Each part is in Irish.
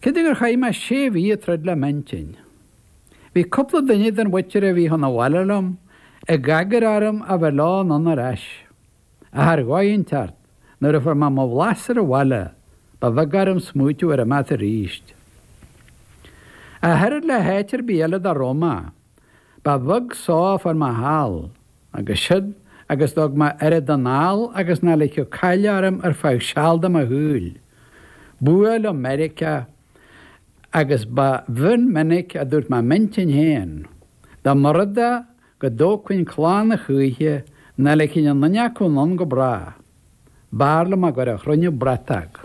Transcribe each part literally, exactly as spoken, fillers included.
Cé gur chaith mé sé mhí ag troid le m'intinn. Bhí cúpla duine den mhuintir a bhí chun an bhaile liom ag agair orm a bheith leo anonn ar ais. Ach ar dhóigh inteacht, nuair a fuair mé mo bhlas ar an bhaile, ba bheag orm smaoitiú ar imeacht arís. Ach oiread le háit ar bith eile dá raibh mé, ba bheag só a fuair mé thall, agus siúd agus d'fhág mé oiread anall agus nach ligfeadh caill orm ar feadh seal de mo shaol. B'fhuath liom Meiriceá agus ba mhion minic a dúirt mé m'intinn féin, dá mba rud é go dtógfainn clann a choíche nach ligfinn aon duine acu anonn go bráth. B'fhearr liom a gcur a chruinniú bratach.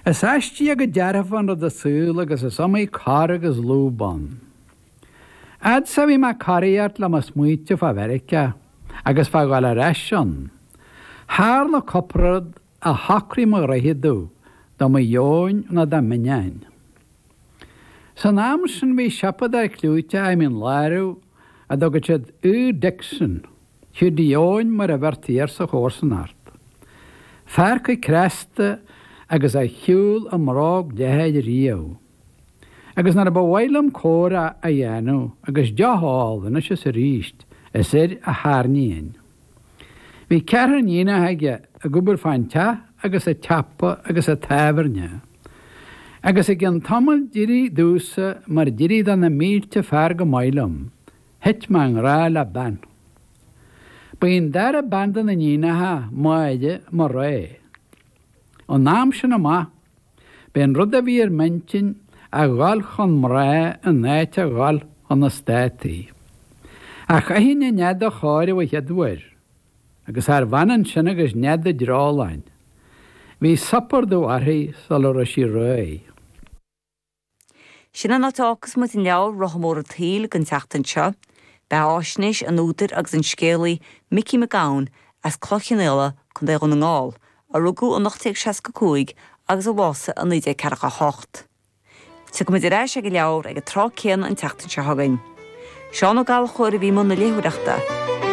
Is aistí go dearfa an rud an saol agus is iomaí cor agus lúb ann. Fhad 's a bhí mé ag coraíocht le mo smaointe fá Mheiriceá agus fá dhul ar ais ann, tharla cúpla rud a shocraigh mo dhroicheadú do mo dheoin nó dá m'inneáin. San am sin bhí siopadóir clúiteach i Mín Lárach a dtugadh siad Hugh Dixon, Hiúdaí Eoin mar a bheirtí air sa chomharsanacht. Fear coicreasta agus a shiúil i mbróg leathair riamh. Agus nuair a ba mhaith liom comhrá a dhéanamh agus deoch a ól anois is arís, is air a tharraingeoinn. Bhí ceathrar iníonacha aige ag obair fán teach agus sa tsiopa agus sa tábhairne. Agus i gcionn tamaill d'éirigh domhsa mar d'éirigh do na mílte fear go maith liom, thit mé i ngrá le bean. Ba í an dara bean de na hiníonacha, Máire, mo rogha. Ón am sin amach, b'é an rud a bhí ar m'intinn a dhul chun mná in áit a dhul chun na Státaí. Ach chaithfinn an nead a chóiriú a chéaduair, agus charbh ionann sin agus nead an dreoláin. Bhí suipéar dubh uirthi sula raibh sí réidh. Sin an áit a fhágfas muid an leabhar Rotha Mór an tSaoil don tseachtain seo, beathaisnéis an údair agus an scéalaí Micí Mac Gabhann as Cloich Cheann Fhaola, Contae Dhún na nGall, a rugadh in ocht déag seasca cúig agus a bhásaigh i naoi déag ceathracha a hocht. Tiocfaimid ar ais ag an leabhar ag an tráth céanna an tseachtain seo chugainn. Seán Ó Gallchóir a bhí i mbun na léitheoireachta.